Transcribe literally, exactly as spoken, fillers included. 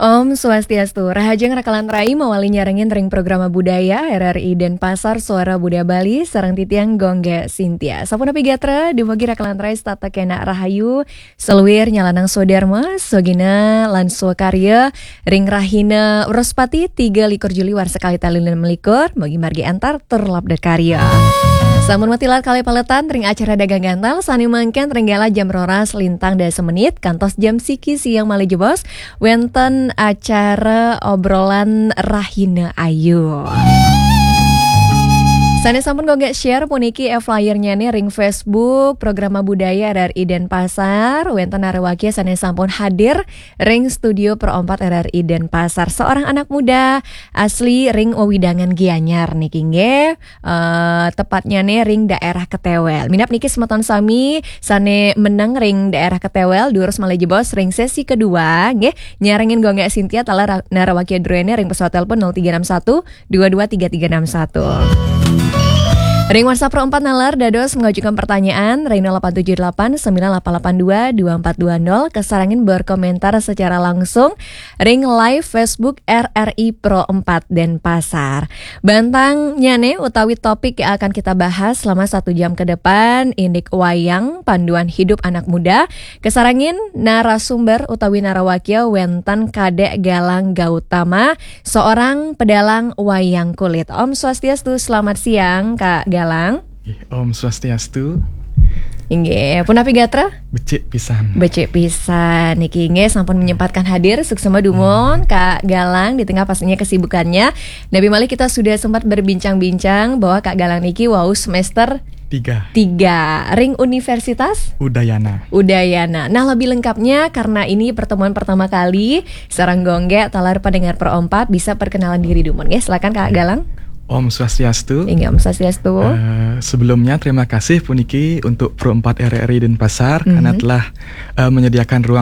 Om Swastiastu, rahajeng rakalan rai mawali nyarengin ring programa budaya R R I Denpasar Suara Budaya Bali sareng titiang Gung Geeh Cynthia. Sapunapi gatra, dumugi rakalan rai setata kena rahayu, saluir nyalanang swadarma, swagina lan swakarya ring rahina Wrespati tiga likur Juli warsa kalih tali enam likur, mugi margi antar tur labda karya. Sampun matilar kalih paletan ring acara Dagang Gantal sane mangkin ring galah jam roras lintang dasa menit kantos jam siki siang malih jebos wenten acara obrolan Rahina Ayu. Sane sampun Gung Geeh share puniki e-flyernyane ring Facebook Programa Budaya R R I Denpasar, wenten narawakya sane sampun hadir ring studio Pro empat R R I Denpasar. Seorang anak muda asli ring wewidangan Gianyar niki nggih. Eh, tepatnyane ring daerah Ketewel. Minab niki semeton sami sane meneng ring daerah Ketewel, durus malih jebos ring sesi kedua nggih, nyarengin Gung Geeh Cynthia taler ra-, narawakya druene ring pesawat telepon nol tiga enam satu dua dua tiga tiga enam satu. Ring WhatsApp Pro empat naler dados mengajukan pertanyaan ring nol delapan tujuh delapan sembilan delapan delapan dua dua empat dua nol, kasarengin berkomentar secara langsung ring live Facebook R R I Pro empat Denpasar. Bantangnyane utawi topik yang akan kita bahas selama satu jam ke depan, indik wayang, panduan hidup anak muda, kasarengin narasumber utawi narawakya wenten Kadek Galang Gautama, seorang pedalang wayang kulit. Om Swastiastu, selamat siang Kak Galang. Ih, Om Swastiastu. Inggih, punapi gatra? Becik pisan. Becik pisan. Niki inggih sampun menyempatkan hadir, suksma dumun, Kak Galang, di tengah pastinya kesibukannya. Napi malih kita sudah sempat berbincang-bincang bahwa Kak Galang niki wau semester Tiga. Tiga. Ring Universitas? Udayana. Udayana. Nah, lebih lengkapnya karena ini pertemuan pertama kali, sareng Gung Geeh taler pendengar Pro empat bisa perkenalan diri dumun, nggih. Silakan Kak Galang. Om Swastiastu. Inggih, Om Swastiastu. Eh, sebelumnya terima kasih puniki untuk Pro empat R R I Denpasar karena Mhm. telah, eh, menyediakan ruang